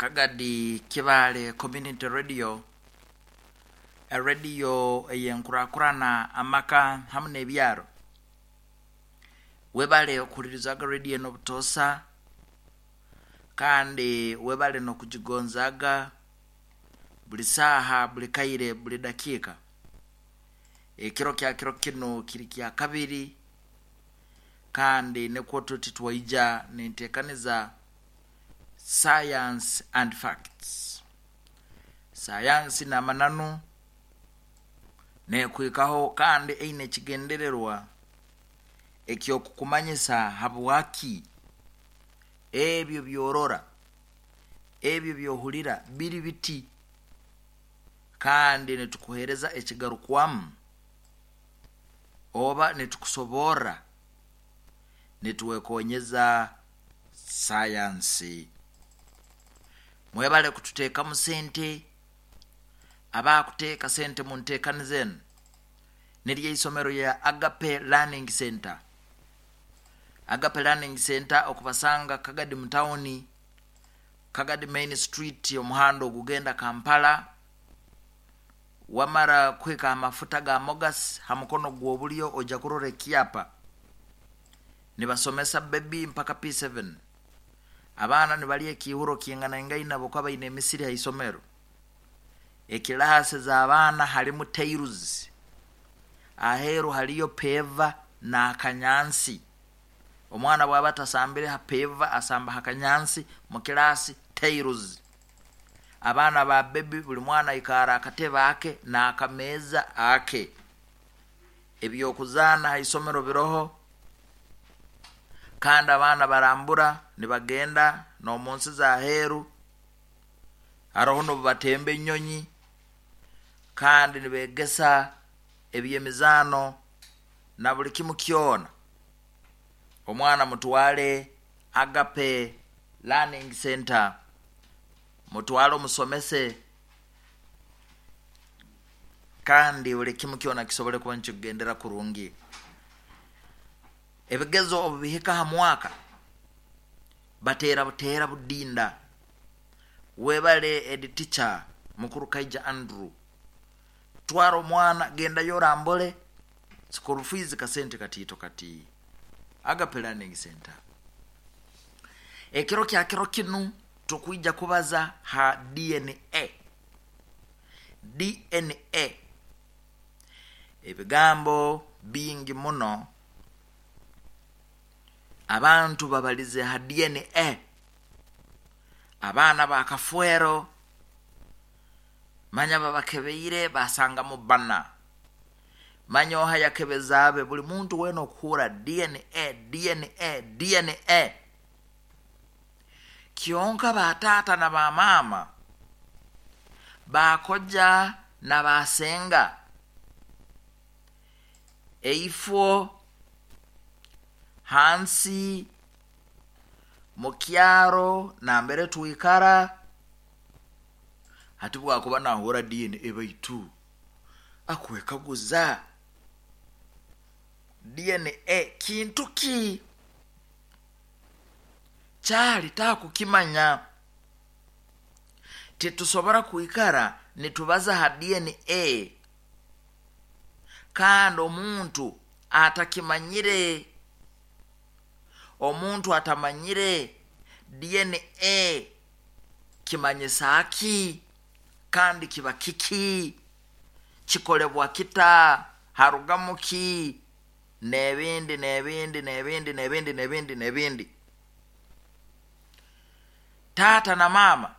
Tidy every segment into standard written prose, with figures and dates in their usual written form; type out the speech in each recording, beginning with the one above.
Kagadi Kibaale Community Radio, erediyo ey'enkurakurana amaka hamu n'ebyaro. Webale okuhulirizaga rediyo enu obutoosa kandi webale n'okugigonzaaga buli saaha, buli kaire, buli dakiika. Ekiro kya kiro kinu kiri kyakabiri kandi nikwo tuti twaija n'enteekaniza Science and Facts. Sayansi n'amananu n'ekuhikaho kandi eine ekigendererwa eky'okukumanyisa habwaki ebyo by'orora, ebyo by'ohulira biri biti kandi nitukuheereza ekigarukwamu oba nitukusoborra nitwekonyeza sayansi. Mwebale kututeekamu sente, abakuteeka sente mu nteekaniza enu niryo eisomero lya Agape Learning Center. Agape Learning Center okubasanga Kagadi mu tawuni, Kagadi Main Street omuhanda ogugenda Kampala, wamara kuhika ha mafuta ga Mogas ha mukono gw'obulyo oja kurora ekyapa. Nibasomesa baby mpaka P7. Abaana nibalya ekiihuro kinganaingaine habwokuba baine emisiri ha isomero. Ekilaasi z'abaana halimu tairuzi, aheeru haliyo peeva n'akanyansi. Omwana bwaba atasambire ha peeva asamba ha kanyansi mu kilaasi tairuzi. Abaana ba bebi buli mwana aikara akatebe ake n'akameeza ake. Eby'okuzaana ha isomero biroho kandi abaana barambura nibagenda n'omu nsi z'aheeru haroho n'obu batemba enyonyi kandi nibeegesa eby'emizaano na buli kimu kyona. Omwana mutwale Agape Learning Center, mutwale omusomese kandi buli kimu kyona kisobole kuba nikikugendera kurungi. Ebigezo obu bihika ha mwaka, bateera buteera budinda. Webale head teacher Mukuru Kaija Andrew, twara omwana gendayo orambule school fees kasente katiito kati. Agape Learning Center. Ekiro kya kiro kinu tukwija kubaza ha DNA. DNA ebigambo bingi muno abantu babalize ha DNA. Abaana ba Kafwero manya babakebeire basangamu bbana. Manya oha yakebeza abe buli muntu weena okuhurra DNA, DNA, DNA. Kyonka ba taata na ba maama, ba koja na ba senga, eifo hansi mu kyaro nambere twikara, hati bwakuba nahurra DNA baitu akwekaguza DNA kintu ki? Kyali takukimanya. Titusobora kwikara nitubaza ha DNA kandi omuntu atakimanyire, omuntu atamanyire DNA kimanyisa ki kandi kiba kiki, kikolebwa kita, harugamu ki, n'ebindi n'ebindi n'ebindi n'ebindi n'ebindi n'ebindi. Taata na maama,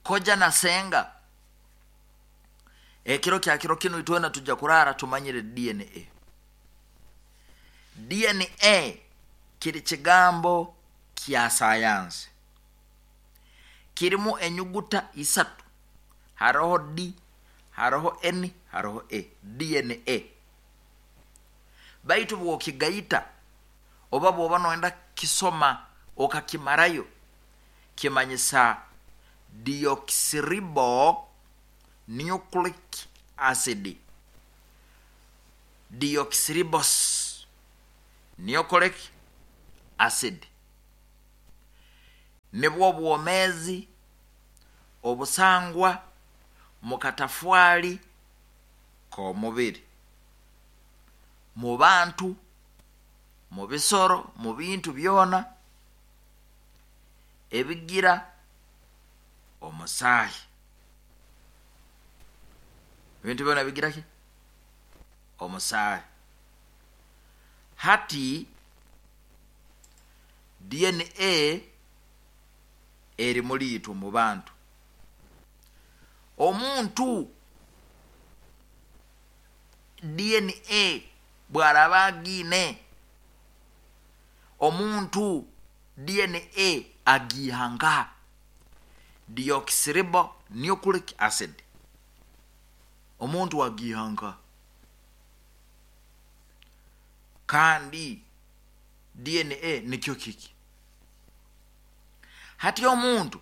koja na senga, ekiro kya kiro kinu itwena tujja kuraara tumanyire DNA. DNA kiri kigambo kya sayansi. Kirimu enyuguta isatu, haroho D, haroho N, haroho A, DNA. Baitu bw'okigaita oba bw'oba noyenda kukisoma okakimarayo, kimanyisa deoxyribo nucleic acid. Deoxyribose nucleic acid. Nibwo bwomeezi obusangwa mu katafwali k'omubiri, mu bantu, mu bisoro, mu bintu byona ebigira omusaahi. Ebintu byona bigira ki? Omusaahi. Hati DNA eri muri itwe mu bantu. Omuntu DNA bw'araaba agiine, omuntu DNA agiiha nkaha? Deoxyribonucleic acid. Omuntu agiiha nkaha? Kandi DNA nikyo kiki? Hati omuntu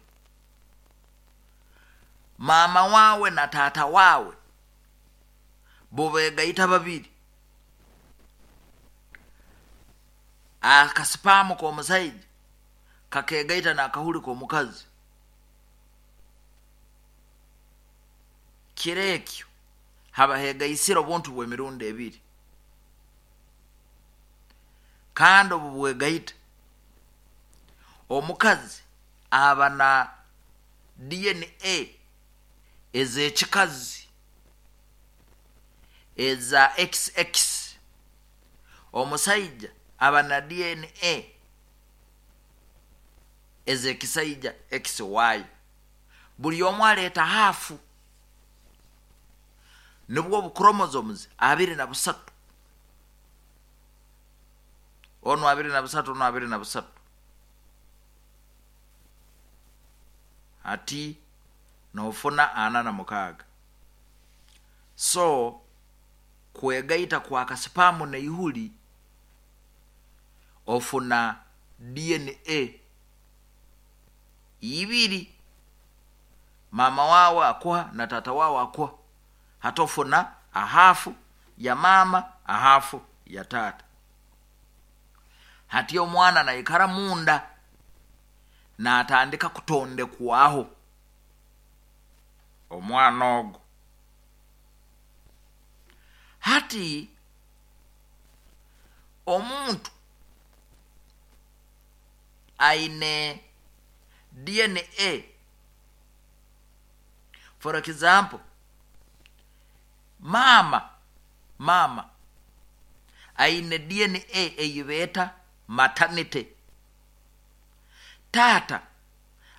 maama waawe na taata waawe bo beegaita babiri, akasipaamu k'omusaija kakeegaita n'akahuri k'omukazi, kiro ekyo haba heegaisire obuntu bw'emirundi ebiri, kandi obu bwegaita omukazi aba na DNA ez'ekikazi eza XX, omusaija aba na DNA ez'ekisaija XY. Buli omu aleeta haafu, nibwo obu chromosomes 23, onu 23, onu 23. Hati noofuna 46. So kwegaita kwa kasipaamu n'eihuri ofuna DNA ibiri, maama waawe akuha na taata waawe akuha, hati ofuna ahaafu ya maama, ahaafu ya taata. Hati omwana naikara munda naatandika kutondekwaho omwana ogu. Hati omuntu aine DNA, for example, maama aine DNA ei beeta maternity, taata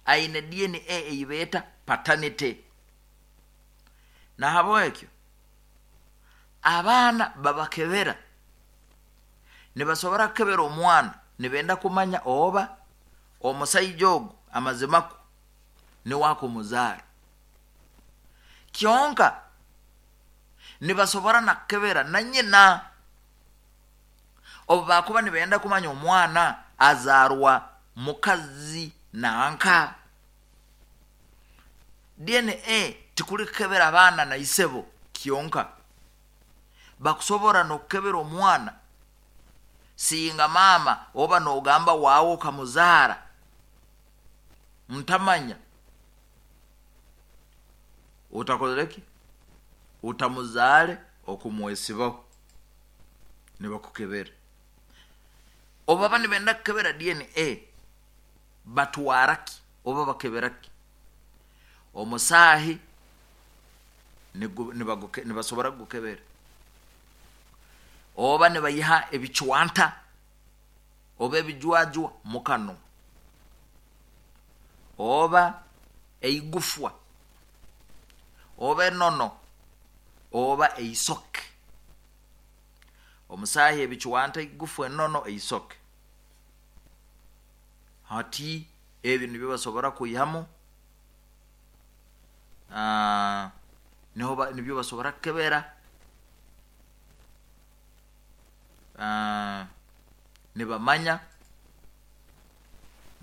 aine DNA ei beeta paternity. Nahabwekyo abaana babakebera, nibasobora kukebera omwana nibenda kumanya oba omusaija ogu amazimakwo niwe akumuzaara. Kyonka nibasobora na kukebera na nyina obu bakuba nibenda kumanya omwana azaarwa mukazi nanka. DNA tikuli kukebera abaana na isebo kyonka, bakusobora n'okukebera omwana singa maama oba noogamba waawe okamuzaara ntamanya utakozere ki, utamuzaale okumwesibaho, nibakukebera. Obu baba nibenda kukebera DNA batwara ki oba bakebera ki? Omusaahi nibasobora kugukebera, oba nibayiha ebicwanta oba ebijwajwa mu kanwa, oba eigufwa, oba enono, oba eisoke. Omusaahi, ebicwanta, eigufwa, enono, eisoke. Hati ebi nibyo basobora kwihamu, niho nibyo basobora kukebera, nibamanya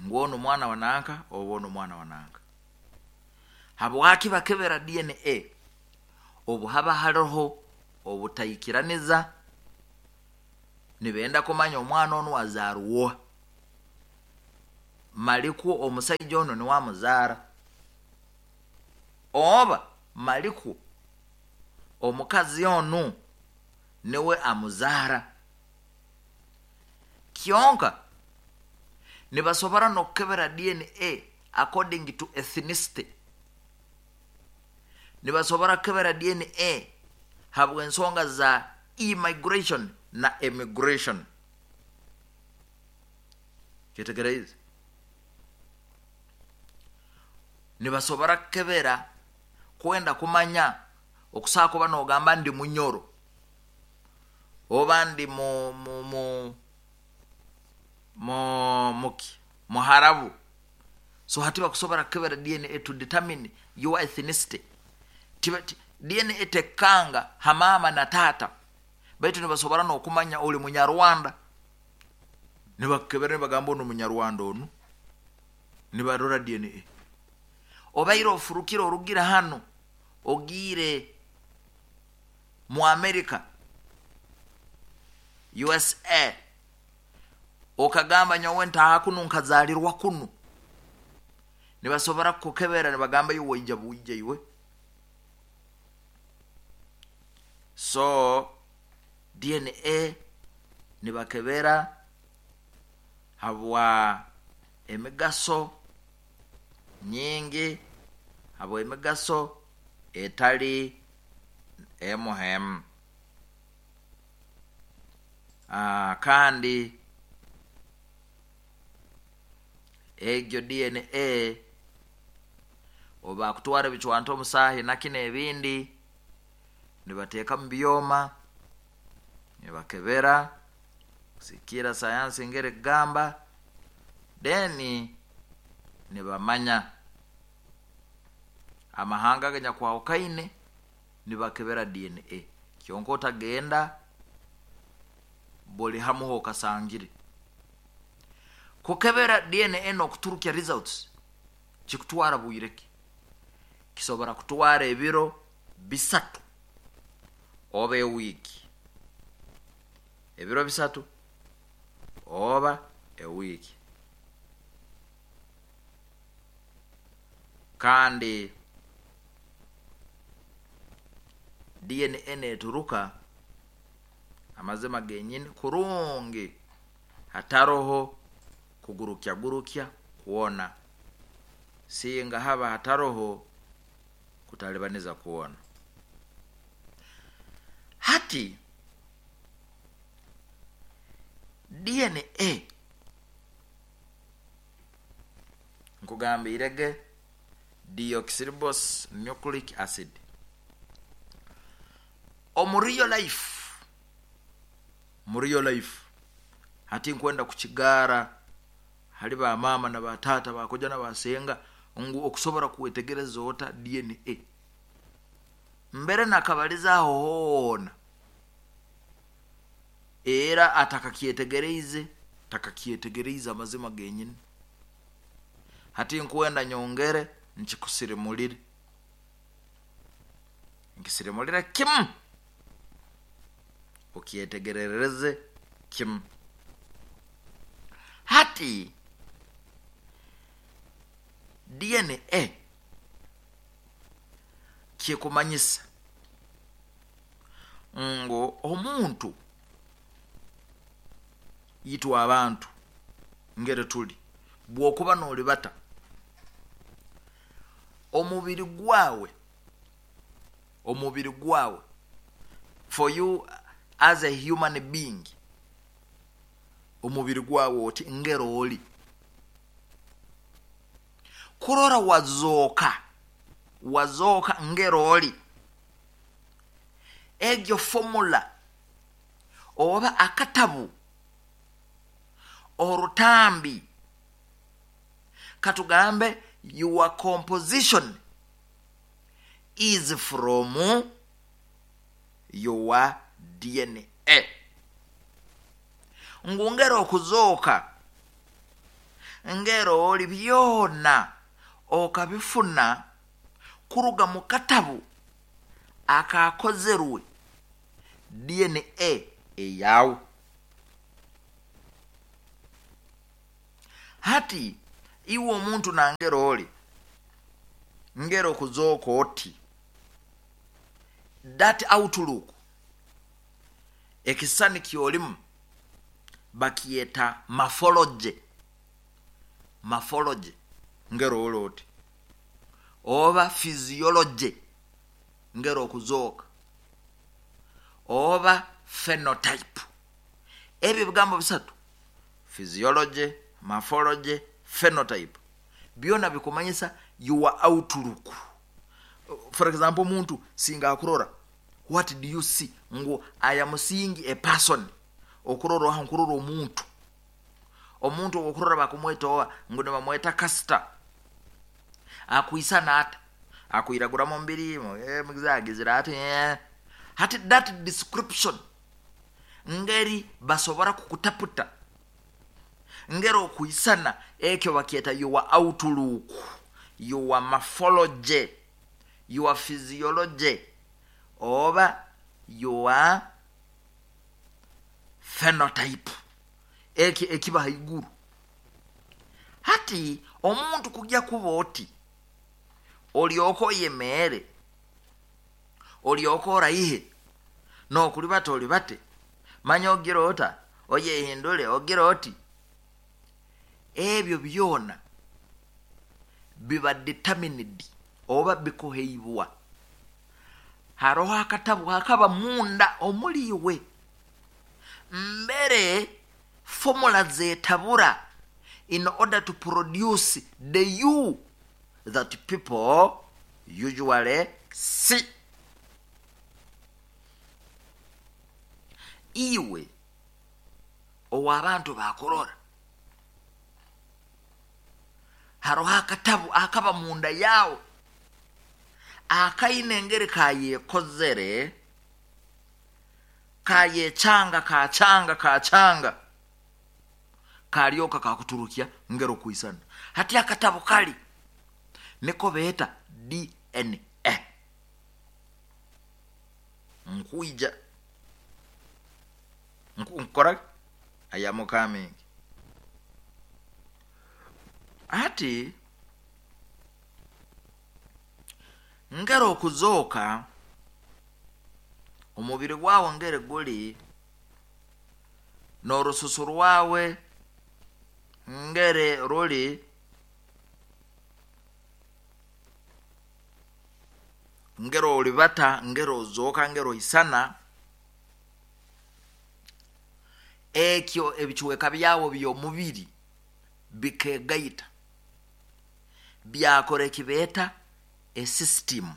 ngu onu mwana wa nanka oba onu mwana wa nanka. Habwaki bakebera DNA? Obu haba haroho obutaikiraniza, nibenda kumanya omwana onu azaarwa oha. Malikwo omusaija ono niwe amuzaara, oba malikwo omukazi onu niwe amuzaara. Kyonka nibasobora n'okukebera DNA according to ethnicity. Nibasobora kukebera DNA habw'ensonga za immigration na emigration. Kyetegereize? Nibasobora kukebera kwenda kumanya okusobola kuba nogamba ndi Munyoro oba ndi mu mu mu mu muki Muharabu. So hati bakusobora kukebera DNA to determine your ethnicity. DNA tekanga ha maama na taata, baitu nibasobora n'okumanya oli Munyarwanda. Nibakukebera nibagamba onu Munyarwanda onu, nibarora DNA. Obaire ofurukire orugire hano ogiire mu America, USA, okagamba nyowe ntaaha kunu nkazaalirwa kunu, nibasobora kukukebera nibagamba iwe waija bwija iwe. So DNA nibakebera habwa emigaso nyingi, habwa emigaso etali emu hemu. Kandi egyo DNA obakutwara ebicwanta omusaahi nakino ebindi nibateeka mu byoma nibakebera kusikiira sayansi ngeri kugamba, then nibamanya amahanga aganyakwahukhaine nibakebera DNA. Kyonka otagenda buli hamu hokasangire. Kukebera DNA n'okuturukya results kikutwara bwire ki? Kisobora kutwara ebiro 3 oba ewiiki. Ebiro 3 oba ewiiki. Kandi DNA neturuka amazima genyini kurungi, hataroho kugurukya gurukya kwona, singa haba hataroho kutalibaniza kwona. Hati DNA nkugambirege deoxyribose nucleic acid. Omu real life, mu real life hati nkwenda kukigaara hali ba maama na ba taata, bakoja na basenga, ngu okusobora kwetegereza ota DNA. Mbere nakabaliza aho hoona era atakakyetegereize, takakyetegereize amazima genyini. Hati nkwenda nyongere nkikusirimulire, nkisirimulire kimu okyetegerereze kimu. Hati DNA kikumanyisa ngu omuntu, itwe abantu ngeri tuli, bwokuba nolibata omubiri gwawe, omubiri gwawe for you as a human being, omubiri gwawe oti ngero oli kurora wazooka, wazooka ngero oli, egyo formula oba akatabu orutambi, katugambe your composition is from your DNA. Ngu ngero okuzooka ngero oli byona okabifuna kuruga mu katabu akakozerwe DNA eyawe. Hati Iwe omuntu nangero oli ngero okuzooka oti, that outlook, ekisisani kyolimu bakyeta morphology. Morphology ngero oli oti, oba physiology ngero okuzooka, oba phenotype. Ebyo ebigambo bisatu, physiology, morphology, phenotype, byona bikumanyisa your outlook. For example, omuntu singa akurora, what do you see? Ngu I am seeing a person. Okurora oha, nkurora omuntu. Omuntu okurora bakumweta owa, ngu nibamweta Kasita. Akwisana ata? Akwiragura mubiri, agizire ati. Hati that description ngeri basobora kukutaputa ngeri okwisana, ekyo bakyeta your outlook, your morphology, your physiology, oba your phenotype. Ekyo ekiba haiguru. Hati omuntu kujya kuba oti, olyoka oyemeere, olyoka oraihe, nokulibata olibate, manya ogira ota, oyehindule ogira oti, ebyo byona biba determined oba bikuheibwa. Haroho akatabu akaba munda omuliwe mbere formula zetabura in order to produce the you that people usually see. Iwe ow'abantu bakurora, haroho akatabu akaba munda yawe akaine engeri kayekozere, kayechanga, kachanga, kachanga, kalyoka kakuturukya ngero kuisana. Hati akatabu kali niko beeta DNA. Nkuija nkora ayamukamingi. Hati ngero okuzooka omubiri gwawe ngere guli n'orususu rwawe ngere ruli, ngero olibata, ngero ozooka, ngero oisana, ekyo ebichweka byawe by'omubiri bikegaita byakora ekibeeta esystem.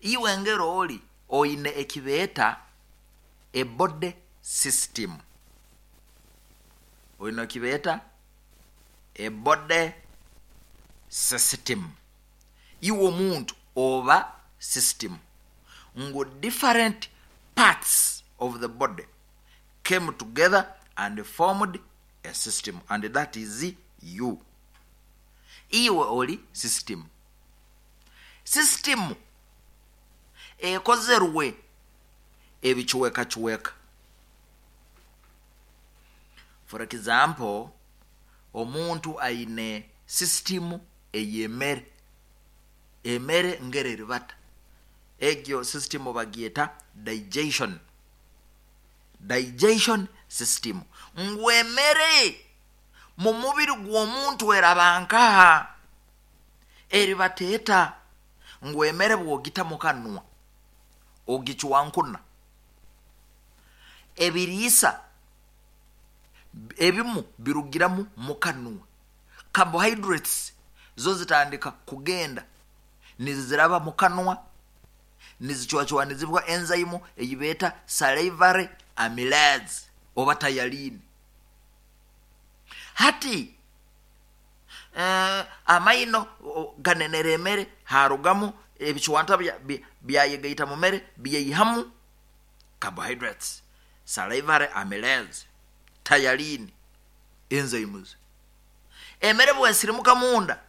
Iwe ngero oli oine ekibeeta ebody system, oine ekibeeta ebody system. Iwe omuntu oba system, ngu different parts of the body came together and formed a system, and that is you. Iwe oli system. System ekozerwe ebichwekachweka. For example, omuntu aine system ey'emere, emere ngere eribata, egyo system bagyeta digestion, digestion system. Ngu emere mu mubiri gw'omuntu eraba nkaha, eribateeta. Ngu emere bwogita mukanwa ogicwankuna, ebiriisa ebimu birugiramu mukanwa, carbohydrates zo zitandika kugenda niziraba mukanwa, nizicwacwanizibwa enzyme eyibeeta salivary amylase oba ptyalin. Hati amaino ganenera emere, harugamu ebicwanta byayegaita mu mere, byeihamu carbohydrates, salivary amylase, ptyalin enzymes. Emere bwesirimuka munda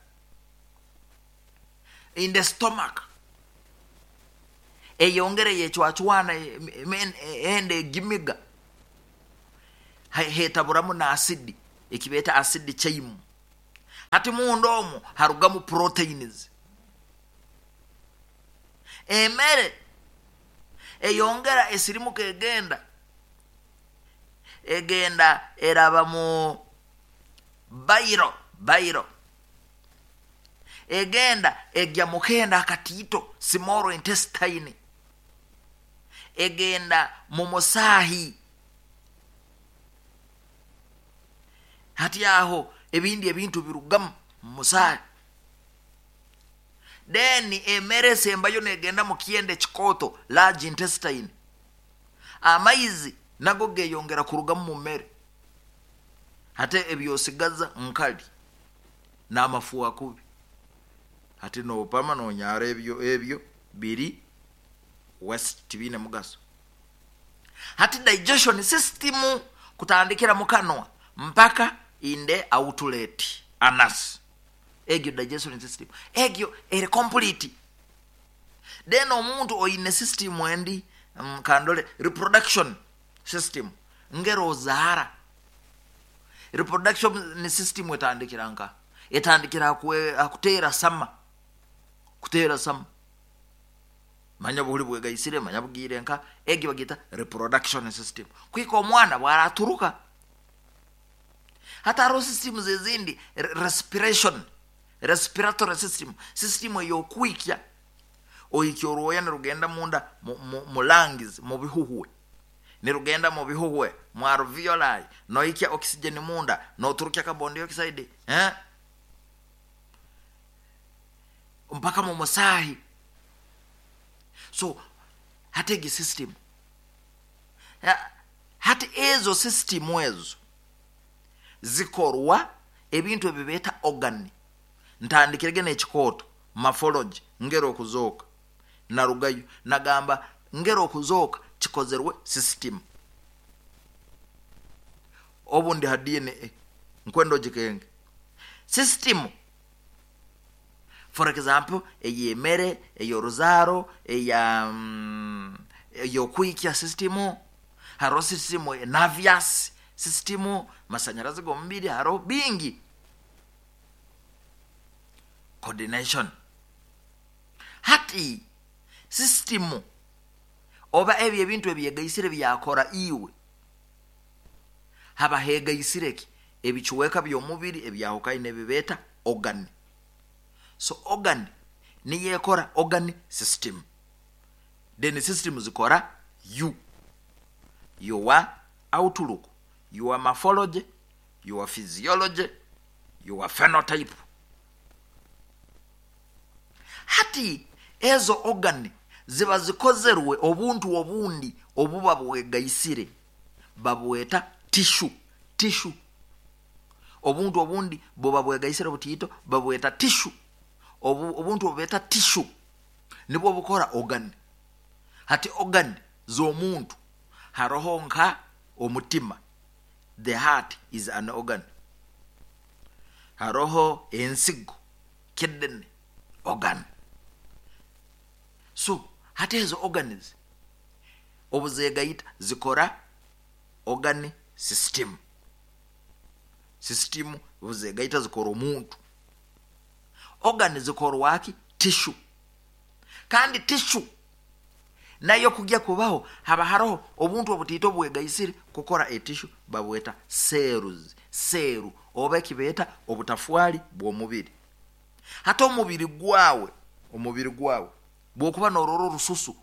in the stomach, eyongere yecwacwana, ende egimiga, hetaburamu na asidi. Ekibeeta acid chyme. Hati munda omwo harugamu proteins. Emere eyongera esirimuka egenda egenda eraba mu bairo bairo egenda egya mukenda akatiito, small intestine, egenda mu musaahi. Hati aho ebindi ebintu birugamu mu musaahi. Then emere esembayo negenda mu kyenda ekikooto, large intestine. Amaizi nago geyongera kurugamu mu mmere. Hati ebyosigaza nkali n'amafu kubi. Hati nopama nonyara ebyo, ebyo biri waste, tibiine mugaso. Hati digestion system kutandikira mukanwa mpaka in the outlet anus, egyo digestion system egyo eri complete. Then omuntu oine system endi, kandole reproduction system, ngero ozaara. Reproduction system etandikira nka etandikira akuteera sama, kuteera sama, manya buhuli bwegaisire, manya bugiire nka egyo bagita reproduction system, kwika omwana bwaraturuka. Hati hariho systems ezindi, respiration, respiratory system, system ey'okwikya, oikya orwoya nirugenda munda mu lungs, mu bihuhwe, nirugenda mu bihuhwe mu alveoli, noikya oxygen munda, noturukya carbon dioxide, eh? Mpaka mu musaahi. So hati egi system, hati ezo system ezo zikorwa ebintu ebibeeta organ. Ntandikirege n'ekikooto morphology, ngero okuzooka, narugayo nagamba ngero okuzooka kikozerwe system. Obundi ha DNA nkwenda ogikenge system, for example ey'emere, ey'oruzaaro, eya ey'okwikya system. Hariho system nervous system, masanyarazi g'omubiri, hariho bingi, coordination. Hati system oba ebyo ebintu ebyegaisire byakora iwe, haba hegaisire ki ebicuweka by'omubiri ebyahukaine ebibeeta organ. So organ niyo ekora organ system, then system zikora you, your outlook, your morphology, your physiology, your phenotype. Hati ezo organ ziba zikozerwe obuntu obundi obuba bwegaisire, babweta tissue. Tissue, obuntu obundi buba bwegaisire butiito, babweta tissue. Obuntu obubeeta tissue nibwo bukora organ. Hati organ z'omuntu haroho nka omutima, the heart is an organ. Haroho ensigo, kidney, organ. So hati ezo organs obuzegaita zikora organ system. System obuzegaita zikora omuntu. Organ zikorwaki? Tissue. Kandi tissue nayo kujya kubaho haba haroho obuntu obutiito obwegaisire kukora etissue, babweta cells, seru oba ekibeeta obutafwali bw'omubiri. Hati omubiri gwawe, omubiri gwawe bwokuba norora orususu,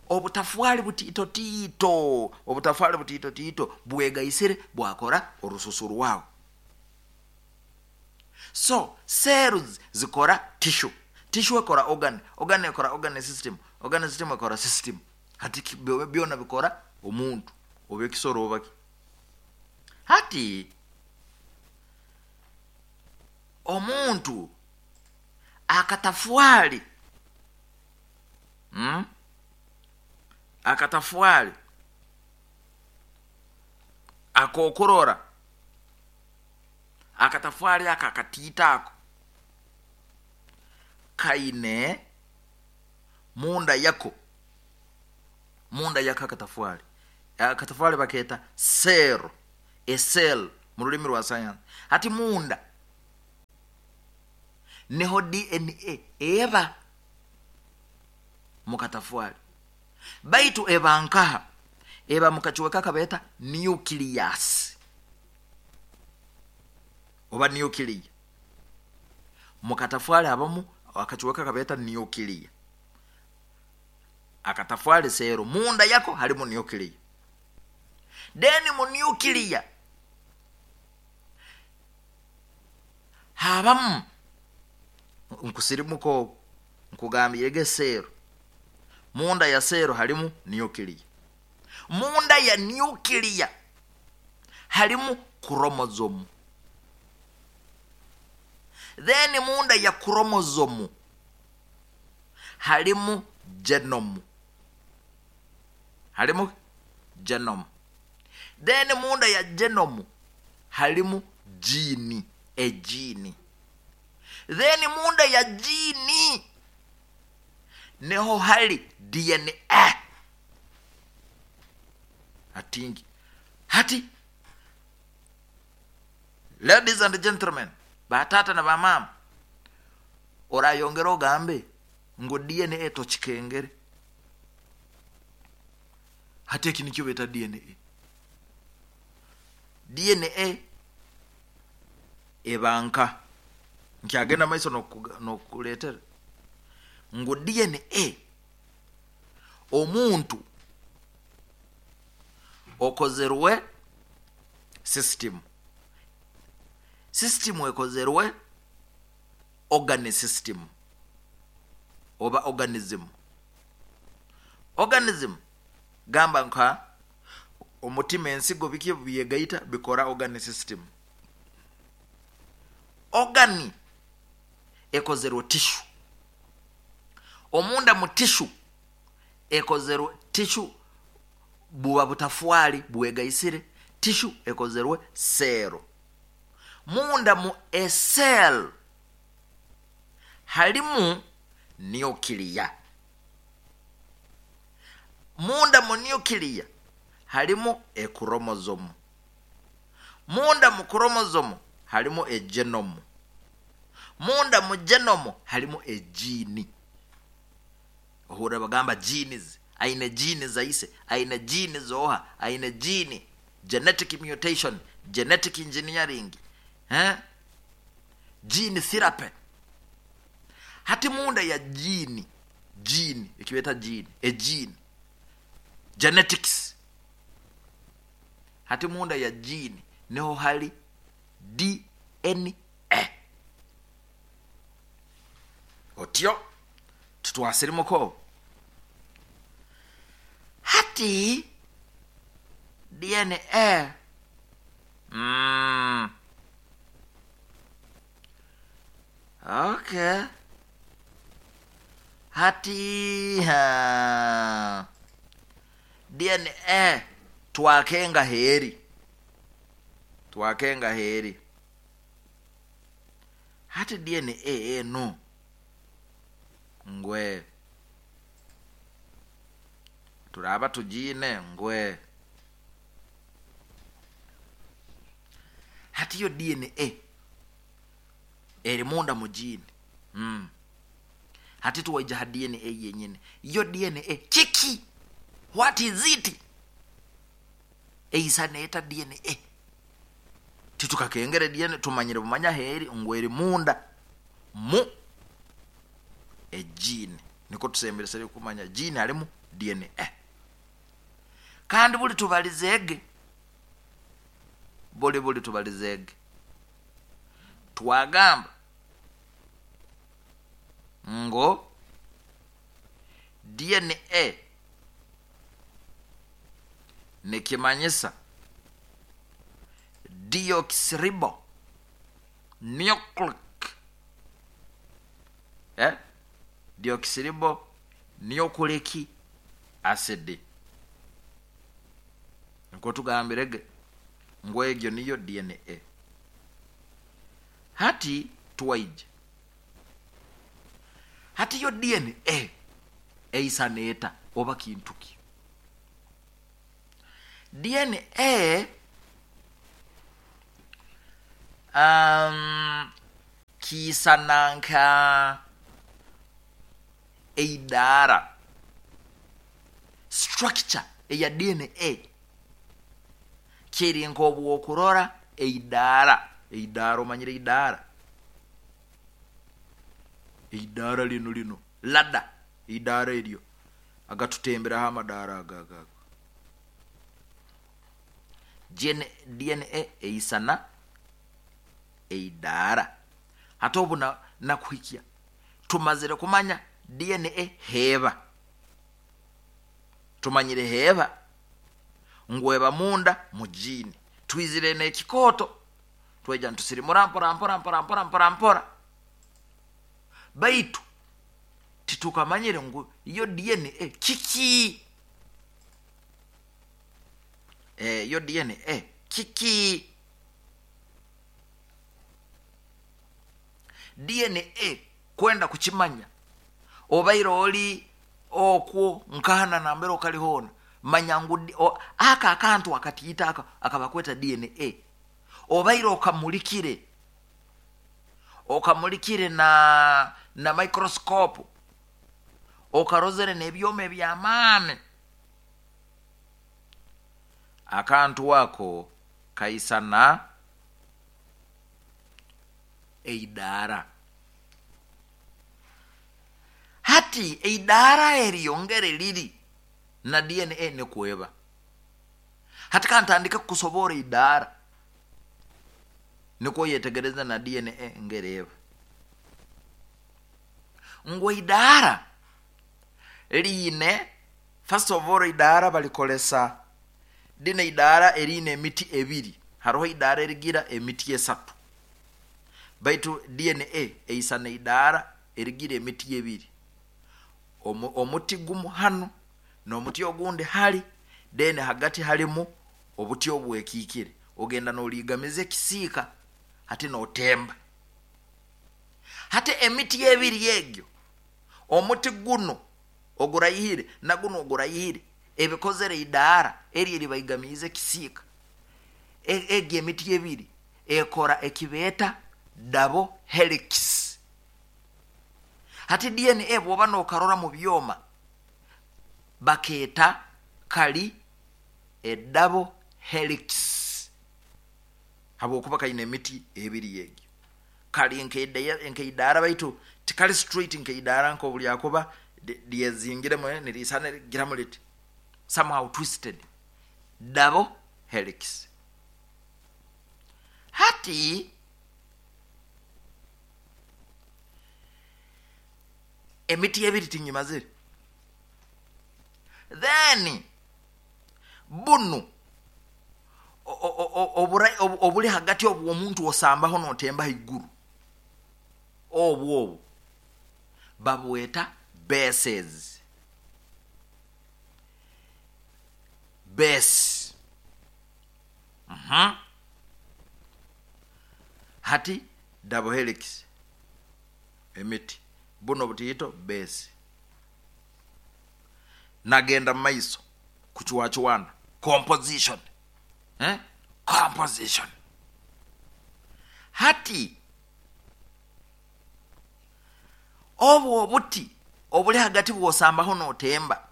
obutafwali butiito tiito, obutafwali butiito tiito bwegaisire bwakora orususu rwawe. So cells zikora tissue, tissue ekora organ, organ ekora organ system, organ system ekora system. Hati byona bikora omuntu oba ekisoro oba ki. Hati omuntu akatafwali, Akatafwali akokurora, akatafwali ako akatiito ako kaine munda yako, munda yako akatafwali, akatafwali bakeeta cell, a cell. Mu rulimi rwa sayansi, hati munda niho DNA eba mukatafwali, baitu eba nkaha? Eba mukacweka kabeeta nucleus oba nuclear. Mukatafwali habamu akacweka kabeeta nuclear. Akatafwali seero, munda yako halimu nuclear. Then mu nuclear habamu, nkusirimuka obu nkugambirege, seero, munda ya seero halimu nuclear, munda ya nuclear halimu chromosome, then munda ya chromosome halimu genome, halimu genome, then munda ya genome halimu gene, egene, then munda ya gene niho hali DNA. Hatingi hati, ladies and gentlemen, batata na bamama, orayongera ogambe ngu DNA tokikengere. Hati eki nikyo beta DNA. DNA ebanka nkyagenda maiso nokukuletera ngu DNA omuntu okozerwe system, system ekozerwe organ system oba organism. Organism gamba nka omutima, ensigo, biki byegaita bikora organ system. Organ ekozerwe tissue, omunda mu tissue ekozerwe tissue, buba butafwali bwegaisire, tissue ekozerwe seero, munda mu ecell halimu nuclear, munda mu nuclear halimu echromosome, munda mu chromosome halimu egenome, munda mu genome halimu egene. Ohurra bagamba genes, aine gene zaise, aine gene zoha, aine gene, genetic mutation, genetic engineering, eh? Gene therapy. Hati munda ya gene, gene ekibeta gene, egene, genetics, hati munda ya gene niho hali DNA. Otyo tutwasirimuko. Hati DNA, okay, hati ha, DNA twakenga heri, twakenga heri. Hati DNA eno ngwe turaba tugine ngwe, hati yo DNA eri munda mu gene. Hati tuwaija ha DNA yenyine. Yo DNA kiki? What is it? Eisa neeta DNA, titukakengere DNA, tumanyire bumanya heri ngu eri munda mu egene, niko tusemberesere kumanya gene halimu DNA. Kandi buli tubalizege, buli buli tubalizege, twagamba ngo DNA nikimanyisa deoxyribo nucleic, deoxyribo nucleic acid, niko tugambirege ngu egyo niyo DNA. Hati tuwaije, hati yo DNA eisa neeta oba kintuki? DNA Kiisana nka eidaara, structure eya DNA kiri nk'obwokurora eidaara. Eidaara, omanyire eidaara? Eidaara linu lino lada, eidaara eryo agatutemberaho amadaara aga aga aga. DNA eisana eidaara. Hati obu nakuhikya tumazire kumanya DNA heeba, tumanyire heeba ngu eba munda mu gene. Twizire n'ekikooto twaija nitusirimura mpora mpora mpora mpora mpora mpora, baitu titukamanyire ngu yo DNA kiki. Yo DNA kiki? DNA kwenda kukimanya, obaire oli okwo nkahana nambere okali hoona, manya ngu aka akantu akatiita aka akabakweta DNA, obaire okamulikire, okamulikire na microscope, okarozere n'ebyoma eby'amaani, akantu ako kaisana eidaara. Hati eidaara eryo ngeri liri na DNA nikweba. Hati kantandike kukusoborra eidaara nikwo oyetegereze na DNA ngeri eba. Ngu eidaara liine, first of all, eidaara balikolesa lino eidaara eriine emiti ebiri. Haroho eidaara erigira emiti esatu, baitu DNA eisana eidaara erigira emiti ebiri. Omuti gumu hanu n'omuti ogundi hali, then hagati halimu obuti obwekiikire. Ogenda n'oliigamiza ekisiika hati n'otemba. Hati emiti ebiri egyo, omuti gunu oguraihire na gunu oguraihire, ebikozere eidaara eri eribaigamiize ekisiika, egi emiti ebiri ekora ekibeeta double helix. Hati DNA bw'oba n'okarora mu byoma, bakeeta kali e double helix habwokuba kaine emiti ebiri egyo. Kali nk'eidaara, baitu tikali straight nk'eidaara nk'obulyakuba lyezingiremu, niriisana rigiramu liti, somehow twisted, double helix. Hati emiti ebiri tingimazire. Then bunu obuli hagati obw'omuntu osambaho n'otemba haiguru, obwo obwo babweta bases. Base. Hati double helix emiti buno butiito base. Nagenda mu maiso kucwacwana composition. Composition. Hati obwo obuti obuli hagati bw'osambaho n'otemba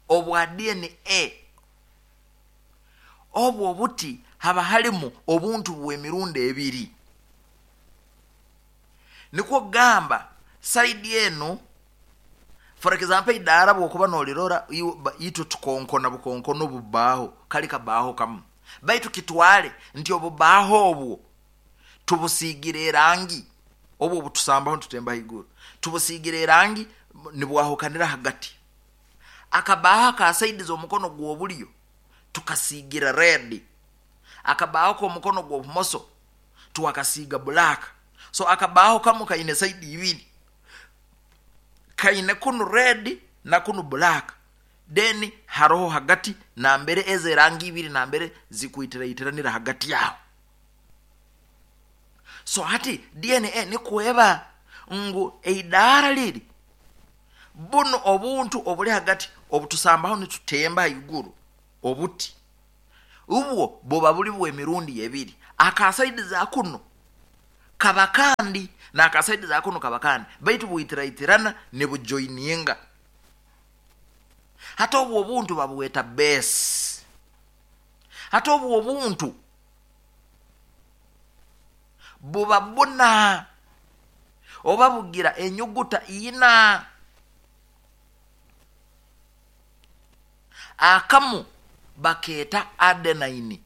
obwa DNA, obwo obuti haba halimu obuntu bw'emirundi ebiri. Nikwo kugamba side enu, for example, eidaara bw'okuba n'olirora, itwe tukonkona bukonkono obubbaaho, kali kabaaho kamu, baitu kitwale nti obubaaho obwo tubusiigire erangi, obwo obutusambaho nitutemba haiguru tubusiigire erangi, nibwahukanira hagati. Akabaaho aka side z'omukono gw'obulyo tukasiigira red, akabaaho k'omukono gw'obumoso twakasiiga black. So akabaaho kamu kaine side ibiri, kaine kunu red na kunu black, then haroho hagati nambere ezo erangi ibiri nambere zikwitiraitiranira hagati aho. So hati DNA nikweba ngu eidaara liri bunu obuntu obuli hagati obutusambaho nitutemba haiguru, obuti ubwo buba buli bw'emirundi ebiri. Aka saidi za kuno kaba kandi n'aka saidi za kuno kaba kandi, baitu bwitiraitirana nibujoininga. Hati obwo obuntu babweta base. Hati obwo obuntu buba buna oba bugira enyuguta ina. Akamu bakeeta adenine,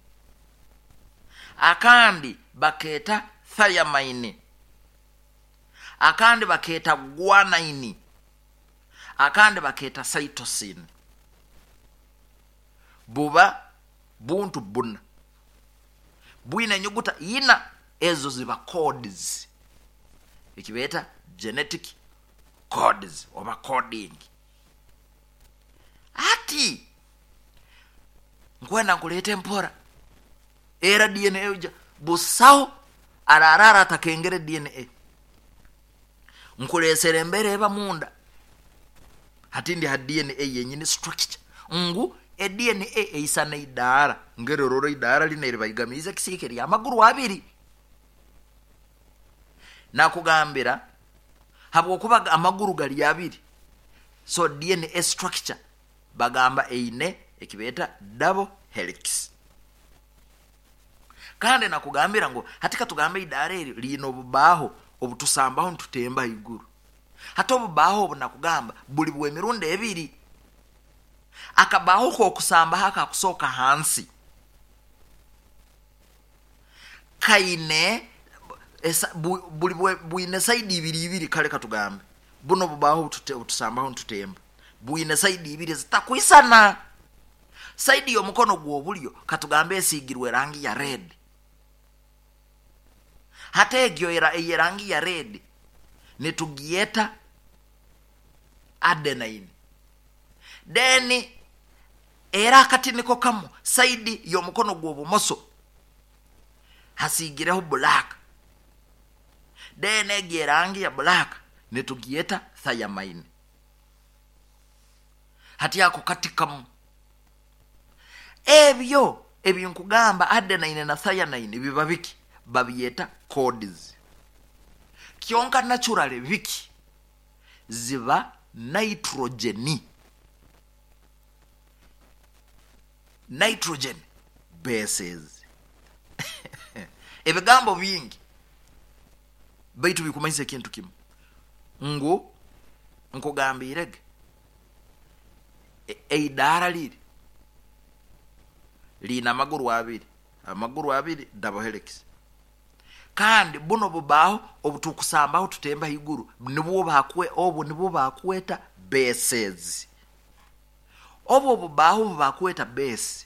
akandi bakeeta thiamine, akandi bakeeta guanine, akandi bakeeta cytosine. Buba buntu buna bwine enyuguta ina, ezo ziba codes, ekibeeta genetic codes oba coding. Hati nkwenda nkuleete mpora, era DNA oja busaho ararara atakengere DNA. Nkuleesera embeera eba munda. Hati ndi ha DNA yenyini structure, ngu e-DNA eisana idaara, ngeri orora idaara lino eribaigamiize ekisiika ery'amaguru abiri. Nakugambira habwokuba amaguru gali abiri, so DNA structure bagamba eine ekibeeta double helix. Kandi nakugambira ngu hati katugambe idaara eri liine obubaaho obutusambaho nitutemba haiguru. Hati obubaaho obu nakugamba buli bw'emirundi ebiri. Akabaaho k'okusambaho akakusooka hansi kaine buli bwine saidi ibiri ibiri. Kale katugambe buno obubaaho obutusambaho nitutemba bwine saidi ibiri zitakwisana. Saidi y'omukono gw'obulyo katugambe esiigirwe erangi ya red. Hati egyo ey'erangi ya red nitugyeta adenine. Then era akati niko kamu saidi y'omukono gw'obumoso hasiigireho black. Then egyo erangi ya black nitugyeta thiamine. Hati ako kati kamu. Ebyo ebinkugamba adenine na thiamine biba biki? Babyeta codes. Kyonka naturally biki? Ziba nitrogeni. Nitrogen bases. Ebigambo bingi baitu bikumanyisa ekintu kimu, ngu nkugambirege eidaara liri liine amaguru abiri, amaguru abiri double helix. Kandi buno bubaaho obutukusambaho tutemba haiguru, nibwo bakwe obu nibwo bakweta bases. Obwo bubaaho bubakweta base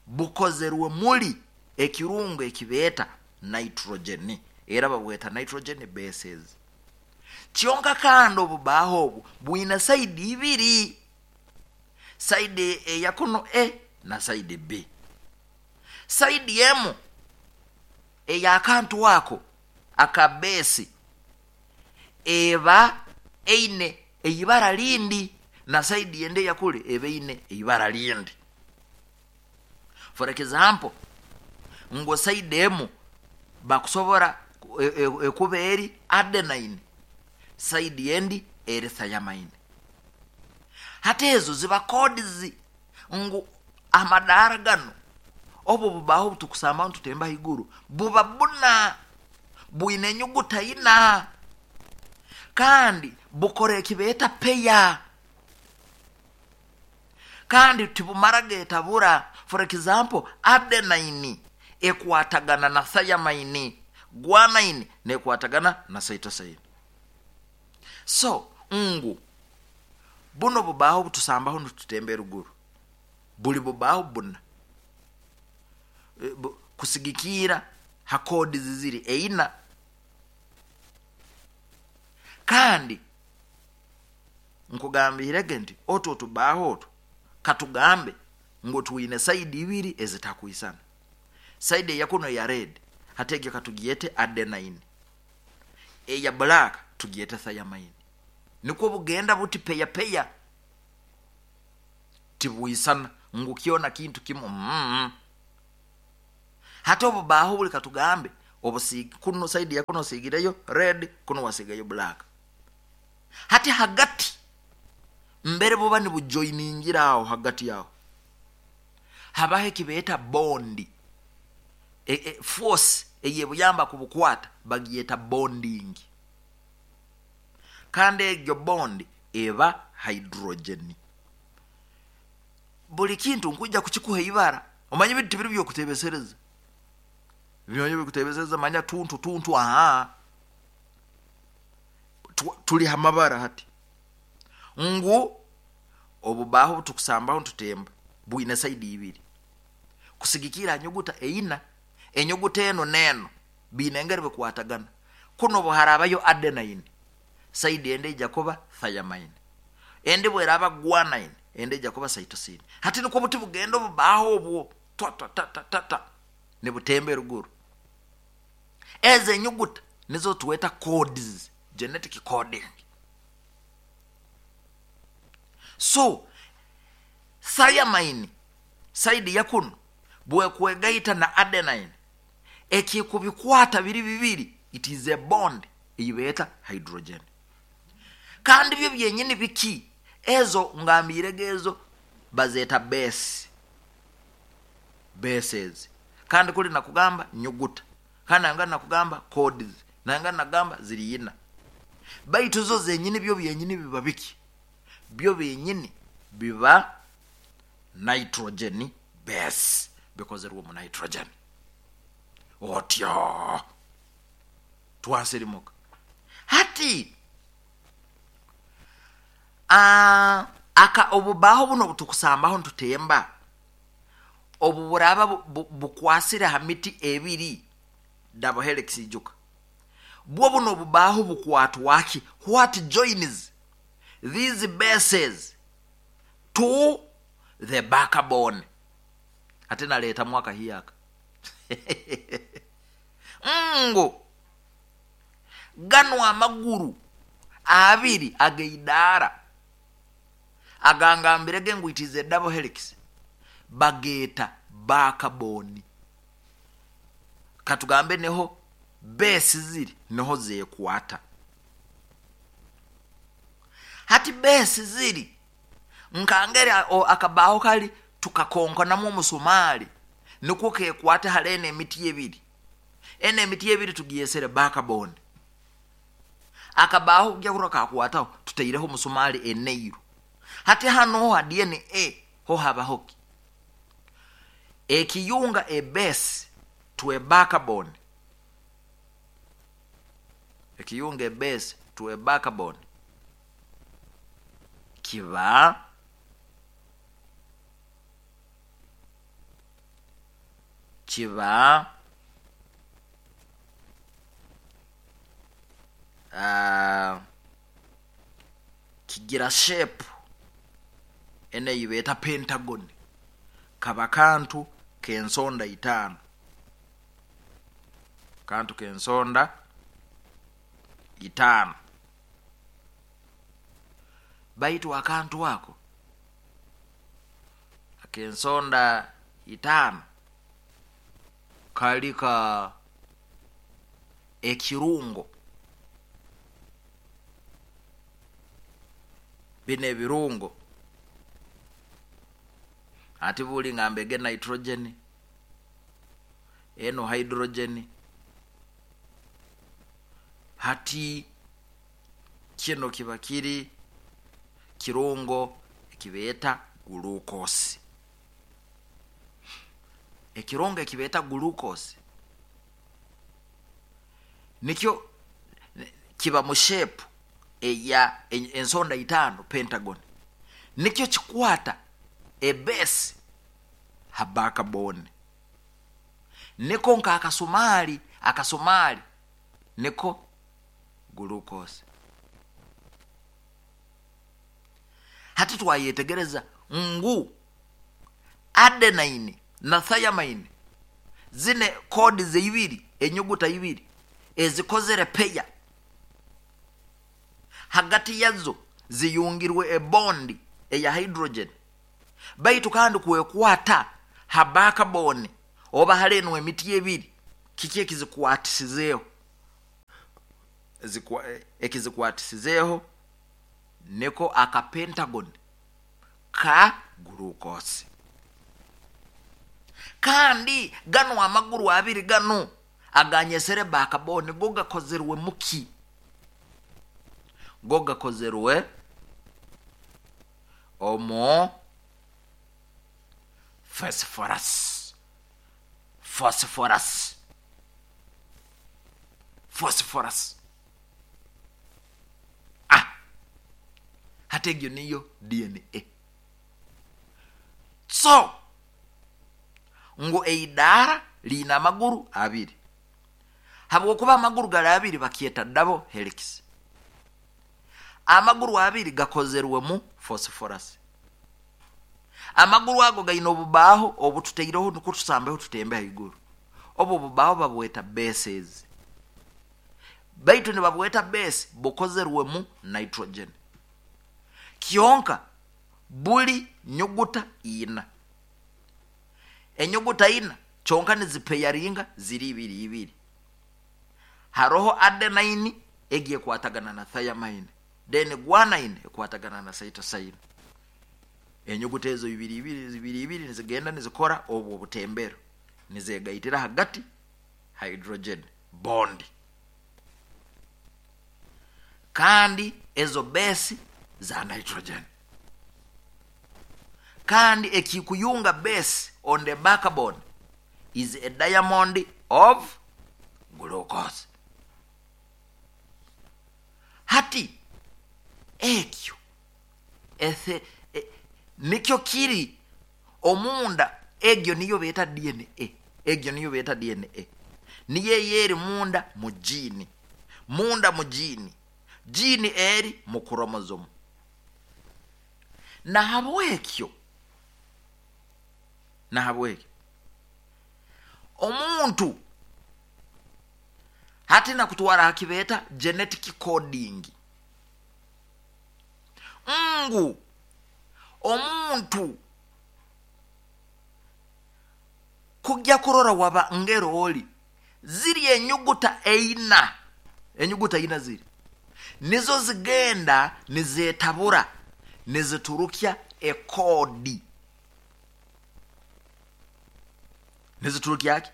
bukozerwe muri ekirungo ekibeeta nitrogen, era babweta nitrogen bases. Kyonka kandi obubaaho obu bwine saidi ibiri, saidi eya kuno A na saidi B. Saidi emu ey'akantu ako aka base eba eine eibara lindi, na saidi ende eyakule eba eine eibara lindi. For example, ngu saidi emu bakusobora ekuba eri adenine, saidi endi eri thiamine. Hati ezo ziba codes, ngu amadaara gano obu bubaaho obutukusambaho nitutemba haiguru buba buna bwine enyuguta ina, kandi bukora ekibeeta peya, kandi tibumara getabura. For example, adenine ekwatagana na thiamine, guanine nekwatagana na cytosine. So ngu buno bubaaho obutusambaho nitutemba eruguru buli bubaaho buna kusigikiira ha codes ziri eina. Kandi nkugambirege nti otwo otubaaho otwo katugambe ngu twine saidi ibiri ezitakwisana. Saidi eyakuno eya red hati egyo katugyete adenine, eya black tugyete thiamine. Nikwo bugenda buti peya peya, tibwisana ngu kyona kintu kimu. Hati obubaaho buli katugambe kuno side ya kuno osiigireyo red, kuno wasiigayo black. Hati hagati mbere buba nibujoiningira aho hagati aho habaho ekibeeta bond, force eyebuyamba kubukwata bagiyeta bonding, kandi egyo bond eba hydrogen. Buli kintu nkwija kukikuha ibara, omanye ebintu tibiri byokutebesereza, byonyo bikutebesereza manya tuntu tuntu, aha tuli hamabara hati ngu obubaho tukusambaho tutemba bwine saidi ibiri kusigikira nyuguta eina, enyuguta eno neno biine engeri bikwatagana. Kuno buharabayo adenine, saidi ende ija kuba thiamine, ende bweraba guanine, ende ija kuba cytosine. Hati niko buti bugenda obubaho obwo twa twa ta ta ta ta nibutembe ruguru. Eze enyuguta nizo tuweta codes, genetic coding. So thiamine saidi ya kuno bwekwegaita na adenine, ekikubikwata biri bibiri, it is a bond eyibeta hydrogen. Kandi byo byenyini biki ezo ngambirege ezo bazeta base, bases. Kandi kuli nakugamba nyuguta, kandi nanga nakugamba codes, nanga nagamba ziri ina. Baitu zo zenyini byo byenyini biba biki? Byo byenyini biba nitrogen base, bikozerwa mu nitrogen. Otyo twasirimuka hati aka obubaho buno butukusambaho ntutemba obu buraba bukwasire ha miti ebiri double helix ijuka bwo buno obubaho bukwatwaki? What joins these bases to the backbone? Ate naleta mwaka hiyaka ngo gano amaguru abiri ageidara agangambirege ngu it is a double helix, bageta backbone. Katugambe neho base ziri neho zekwata. Hati base ziri nkangere akabaho kali tukakonkonamu omusumali nikwo kekwata halene emiti ebiri, ene emiti ebiri tugiyesere backbone. Akabaho kujya kura kakwataho tutaireho omusumali eneiru. Hati hano ha DNA ho habahoki ekiyunga a base to a backbone, ekiyunga a base to a backbone kiba kigira shape ene yibeta pentagon, kaba kantu kensonda itano, kantu kensonda itano. Baitu akantu ako akensonda itano kalika ekirungo, bine ebirungo ati buli ngambege nitrogen eno hydrogen. Hati kino kiba kiri kirungo ekibeta glucose. Ekirungo ekibeta glucose nikyo kiba mu shape eya ensonda itano pentagon, nikyo kikwata a base ha backbone. Niko nka akasumali niko glucose. Hati twayetegereza ngu adenine na thiamine zine kodi zeibiri, enyuguta ibiri ezikozere peya, hagati yazo ziyungirwe ebondi eya hydrogen. Baitu kandi kwekwata ha backbone Oba hali enu emiti ebiri, kiki ekizikwatisizeeho? Ekizikwatisizeeho niko aka pentagon ka glucose. Kandi ganu amaguru abiri ganu aganyesere backbone go gakozerwe muki? Go gakozerwe omu phosphorus. Phosphorus. Phosphorus. Hati egyo niyo DNA. So ngu eidaara liine amaguru abiri. Habwokuba amaguru gali abiri bakyeta double helix. Amaguru abiri gakozerwemu phosphorus. Amaguru ago gaine obubaaho obututaireho nukwo tusambeho tutembe haiguru. Obu obubaaho babweta bases. Baitu nibabweta base bukozerwemu nitrogen. Kyonka buli nyuguta ina. Enyuguta ina kyonka nizipeyaringa ziri ibiri ibiri. Haroho adenine egi ekwatagana na thiamine, then guanine ekwatagana na cytosine. Enyuguta ezo ibiri ibiri ibiri ibiri nizigenda nizikora obwo obutembero, nizegaitira hagati hydrogen bond. Kandi ezo base za nitrogen. Kandi ekikuyunga base on the backbone is a diamond of glucose. Hati ekyo nikyo kiri omunda, egyo niyo beeta DNA. Egyo niyo beeta DNA. Niyo eyeri munda mu gene. Munda mu gene. Gene eri mu chromosome. Nahabwekyo omuntu hati nakutwara hakibeeta genetic coding. Ngu omuntu kujya kurora waba ngero oli ziri enyuguta eina, enyuguta ina ziri nizo zigenda nizetabura niziturukya ekodi. Niziturukya ki?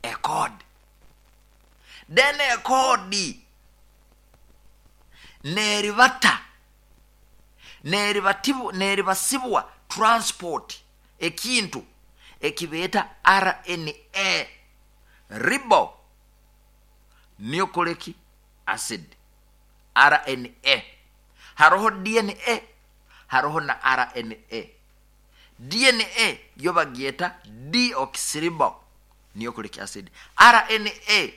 Ekodi. Then ekodi neribata neribasibwa transport ekintu ekibeta RNA, ribo nucleic acid, RNA. Haroho DNA, haroho na RNA. DNA yo bagyeta deoxyribo nucleic acid. RNA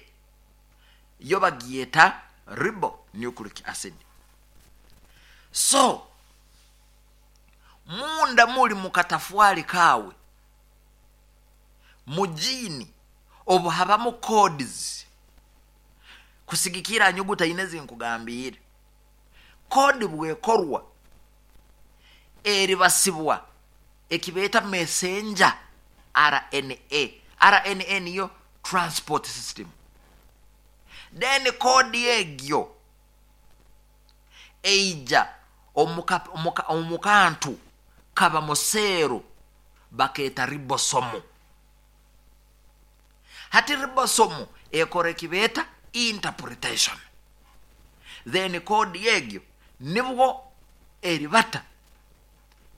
yo bagyeta ribo nucleic acid. So munda muli mukatafwali kawe mujini obu habamu codes kusigikira nyuguta ine zinkugambire. Kodi bwekorwa eribasibwa ekibeta messenger RNA. RNA niyo transport system. Then kodi egyo eija omukantu kaba museero baketa ribosomo. Hati ribosomo ekora ekibeta interpretation. Then kodi egyo nibwo eribata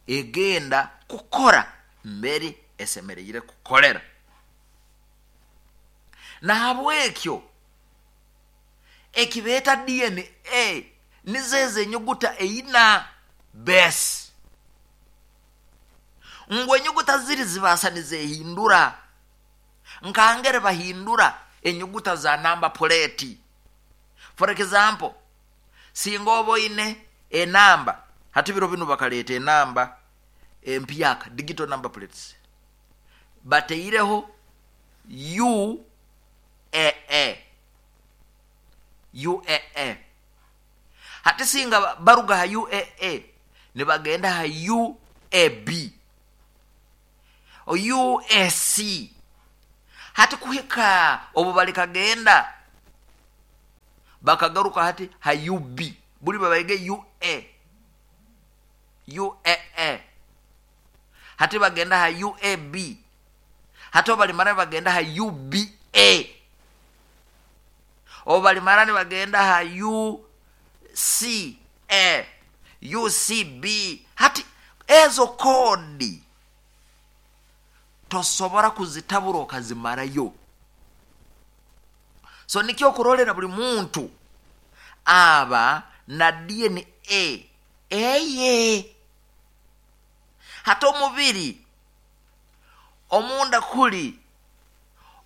egenda kukora mbere esemereire kukolera. Nahabwekyo ekibeta DNA nizeze enyuguta eina base. Ngu enyuguta ziri zibasa nizehindura. Nkangere bahindura enyuguta za number plate. For example, singa oboine enamba, hati biro binu bakaleta enamba empyaka, digital number plates. Bateireho UAA. UAA. Hati singa baruga ha UAA nibagenda ha UAB, UAC. Hati kuhika obu balikagenda bakagaruka hati ha UB, buli babaige UA, UAA, hati bagenda ha UAB, hati obu balimara bagenda ha UBA, obu balimara nibagenda ha UCA, UCB. Hati ezo kodi tosobora kuzitabura okazimarayo. So nikyo okurolera buli muntu aba na DNA eye. Hati omubiri omunda kuli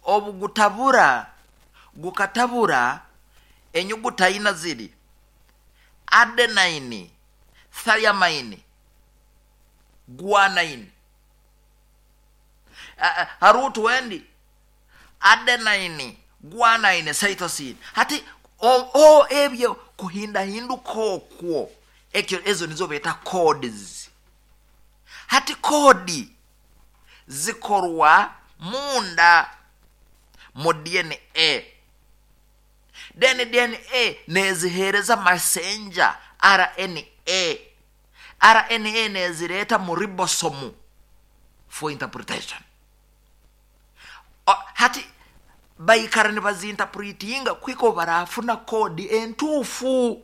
obugutabura gukatabura enyuguta ina ziri adenine, thiamine, guanine. Harutu wendi adenine, guanine, cytosine. Hati o ebyo kuhindahinduka okwo, ekyo ezo nizo beta codes. Hati kodi zikorwa munda mu DNA. Then DNA nezihereza messenger RNA. RNA nezireta mu ribosome for interpretation. Hati baikara nibazinterpretinga kwiko barafuna kodi entufu.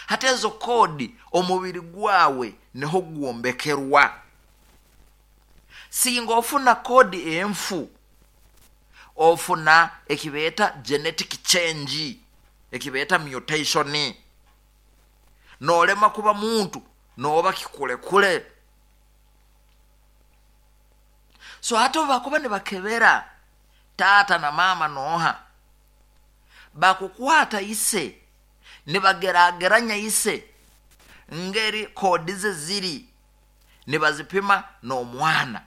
Hati ezo kodi omubiri gwawe niho gwombekerwa. Singa ofuna kodi enfu, ofuna ekibeta genetic change, ekibeta mutation, nolema kuba muntu noba kikulekule. So hata bakuba nibakebera tata na mama noha, bakukwata ise nibagerageranya ise ngeri kodi ze ziri, nibazipima n'omwana,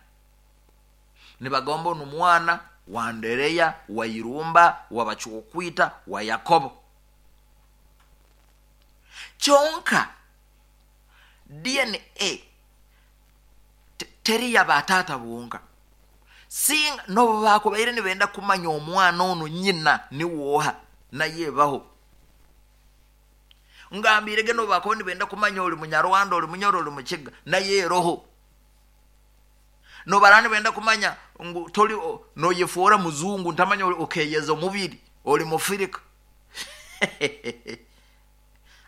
nibagomba n'omwana wa Andereya, wa Irumba, wa Bachukwita, wa Yakobo. Kyonka DNA teri ya batata bonka. Singa nobo bakubaire nibenda kumanya omwana ono nyina ni woha naye baho. Ngambirege nobo bakuba nibenda kumanya oli Munyarwanda, oli Munyoro, oli Mukiga, naye roho. No barani benda kumanya ngu toli no yefora muzungu ntamanya okeyeza omubiri oli mufirika.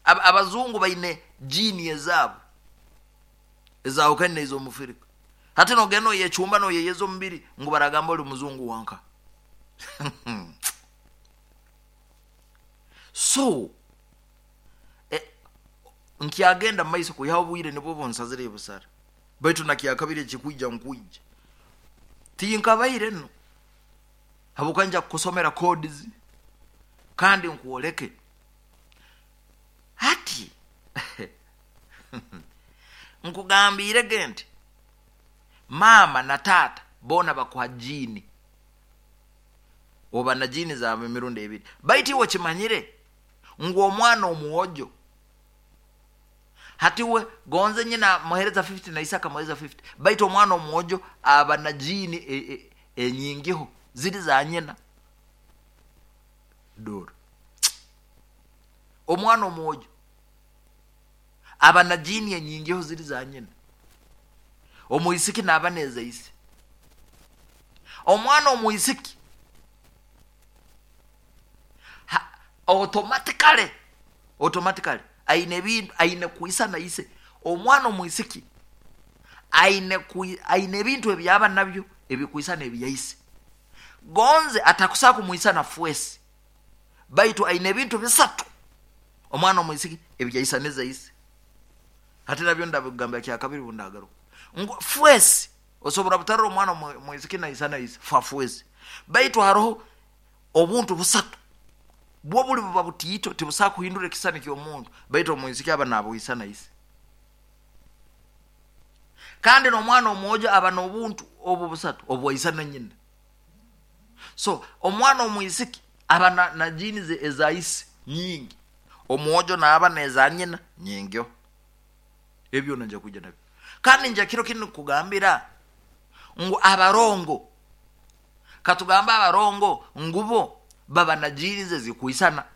Abazungu baine jini ezabo ezawukane izo mufirika. Hati nogeno yechumba no yeyeza omubiri ngu baragamba oli muzungu wanka. So nkyagenda maiso kuyaho bwire nibwo bonsazire busara. Baitu nakyakabire kikuija nkuija. Tinkabaire no. Habukanja kusomera codes kandi nkuoleke. Hati nkugambire gente mama na tata bona bakuha jini. Oba na jini za mirundi ebiri. Baitu iwe kimanyire ngu omwana omuwojo. Hati we gonze nyina muhereza 50 na Isaka muhereza 50. Baitu omwana omuwojo aba na jini enyingiho ziri za nyina. Doro. Omwana omuwojo aba na jini enyingiho ziri za nyina. Omuisiki naba neza isi. Omwana omuisiki automatically aine bintu aine kuisa na ise. Omwana omuisiki aine bintu ebyaba nabyo ebikuisa n'ebyaise. Gonze atakusa kumuisa na fuesi. Baitu aine bintu bisatu omwana omuisiki ebyaisa neza ise. Hati nabyo ndabigamba kya kabiri bundagaruka. Fuesi osobora butarira omwana omuisiki na isa na ise fa fuesi. Baitu haroho obuntu busatu bwo buli buba butiito tibusa kuhindura ekisani ky'omuntu. Baitu omuisiki aba nabuisa na ise. Kandi n'omwana omwojo aba n'obuntu obu busatu obwaisa na nyina. So omwana omuisiki aba na jini eza ise nyingi. Omwojo naaba neza nyina nyingyo. Ebyo nanja kuja nabyo. Kandi nja kiro kinu kugambira ngu abarongo. Katugambe abarongo ngubo baba na jeans zikwisana.